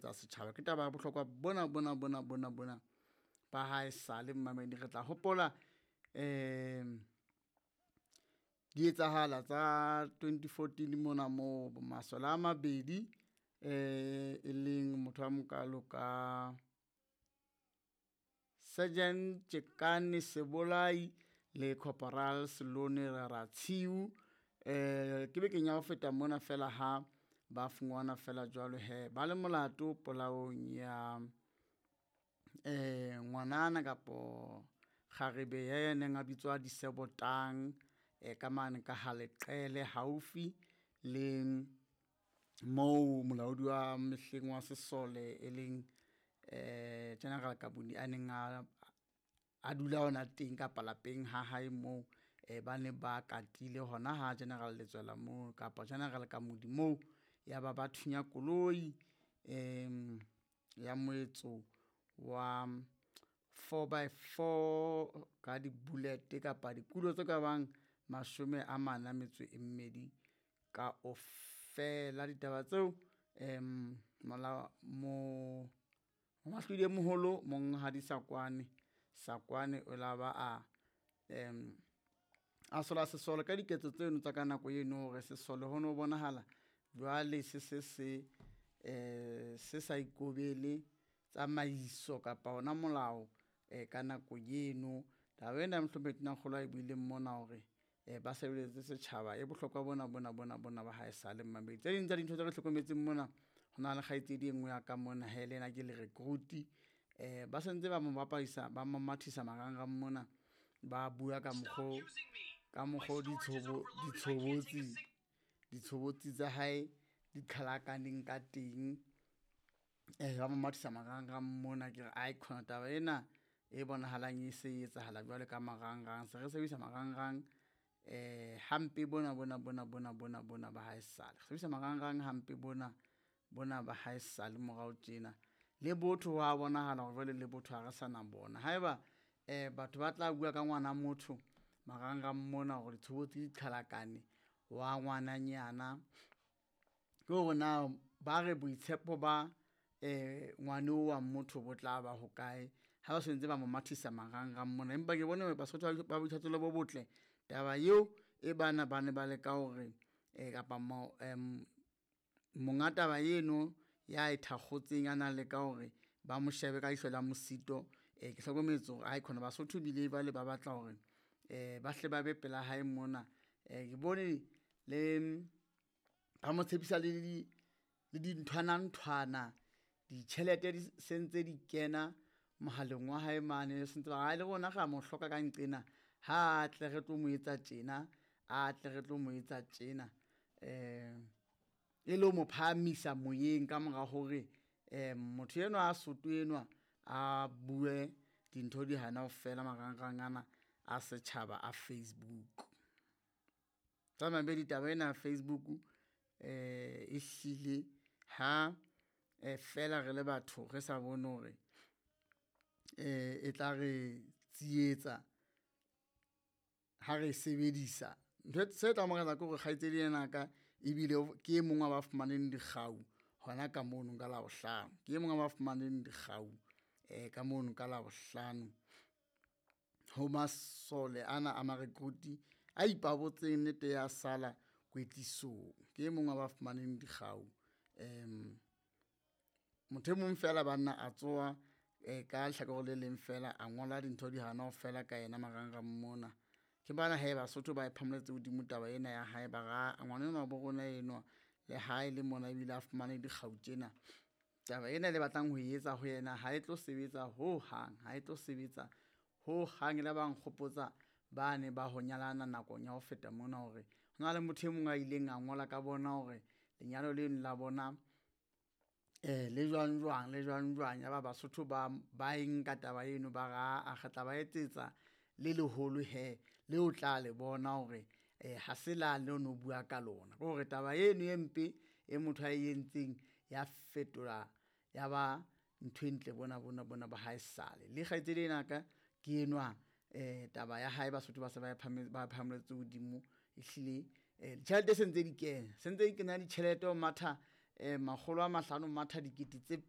Tsa setjhaba ke taba ya bohlokwa bona bona bona bona bona ba hae sale mmamedi re tla hopola um di etsahala tsa 2014 mona moo masole a mabedi um e leng motho a mokalo ka Sergeant Tjekane Sebolai le Corporal Selone Ratshiu eh ke bekeng ya ho feta mona fela ha ba fungwana fela jwalo he ba le molato polaong ya eh ngwanana kapo kgarebe ya neng a bitswa Disebotang eh ka mane ka ha Leqele haufi le moo molaodi wa mehleng wa sesole e leng eh General Kabuni a neng a dula hona teng kapa lapeng ha hae moo eh ba ne ba katile hona ha General Letswela moo kapa General Kamodi moo ya ba ba thunya koloi em ya moetso wa 4x4 ka di-bullet kapa dikulo tse ka bang mashome a mane a metso e mmedi ka ofela. Ditaba tseo em mola mo Moahlodi e moholo Monghadi Sakwane Sakwane o la ba a em a sola sesole ka diketso tseno tsa ka nako eno hore sesole ho no bonahala jwale se se se eh se sa ikobele tsamaiso kapa ona molao eh ka nako eno. Taba ena mohlomphehi Tonakgolo a e buileng mona hore eh ba sebeletse setjhaba e bohlokwa bona bona bona bona ba hae sale mmamedi. Tse ding tsa dintho tse re hlokometseng mona ho na le kgaitsedi e nngwe ya ka mona he le yena ke le recruit eh ba sentse ba mo bapadisa ba mo mathisa marangrang mona ba bua ka mokgo ka mokgo ditshobotsi ditshobotsi tsa hae di qhalakaneng ka teng eh ba mo mathisa marangrang mona ke re ai khona taba ena e bonahalang e se e etsahala jwale ka marangrang se re sebedisa marangrang eh hampe bona bona bona bona bona bona ba hae sale re sebedisa marangrang hampe bona bona ba hae sale morao tjena le botho wa bonahala hore jwale le botho ha re sa na bona haeba eh batho ba tla bua ka ngwana motho marangrang mona hore ditshobotsi di qhalakane wa ngwananyana ke hore na ba re boitshepo ba eh ngwane wa motho bo tla ba hokae ha ba sentse ba mo mathisa marangrang mona. Empa ke bone Basotho ba boithatelo bo botle taba eo e bana ba ne ba leka hore eh kapa mo monga taba eno ya e thakgotseng a na leka hore ba mo shebe ka ihlo la mosito eh ke hlokometse hore ai khona Basotho bile jwale ba batla hore eh ba hle ba be pela hae mona eh ke bone le ba mo tshepisa le di le dinthwana nthwana ditjhelete di sentse di kena mohaleng wa hae mane sentse ba re le rona ra mo hloka ka nqena ha tle re tlo mo etsa tjena a tle re tlo mo etsa tjena eh e le ho mo phahamisa moyeng ka mora hore eh motho enwa a soto enwa a bue dintho di hana ho fela marangrang ana a setjhaba a Facebook. Tsa mabedi taba ena ya Facebook eh e hlile ha eh fela re le batho re sa bone hore eh e tla re tsietsa ha re e sebedisa. Ntho se tla mmakatsa ke hore kgaitsedi ena ka ebile ke e mong wa ba fumaneng dikgau hona ka mono ka Labohlano. Ke e mong wa ba fumaneng dikgau eh ka mono ka Labohlano ho masole ana a marekruti a ipabotseng nnete ya sala kwetlisong. Ke e mong wa ba fumaneng dikgau um motho e mong fela banna a tsoha eh ka lehlakore le leng fela a ngola dintho di hana ho fela ka yena marangrang mona. Ke bana he Basotho ba e phamoletse hodimo taba ena ya hae ba re ngwana enwa bo rona enwa le hae le mona ebile a fumane dikgau tjena. Taba ena le batlang ho e etsa ho yena ha e tlo sebetsa ho hang, ha e tlo sebetsa ho hang. E la ba nkgopotsa ba ne ba ho nyalana nakong ya ho feta mona hore ho na le motho e mong a ileng a ngola ka bona hore lenyalo leno la bona eh le jwang jwang le jwang jwang. Ya ba Basotho ba ba e nka taba eno ba re aa re tla ba etsetsa le leholo he le o tla le bona hore eh ha se la le no bua ka lona. Ke hore taba eno e mpe e motho a e entseng ya fetola ya ba ntho e ntle bona bona bona ba hae sale. Le kgaitsedi ena ka ke enwa eh taba ya hae Basotho ba se ba e ba phahametse hodimo ehlile eh ditjhelete se ntse di kena, se ntse di kena ditjhelete ho matha. 500 matha 2000.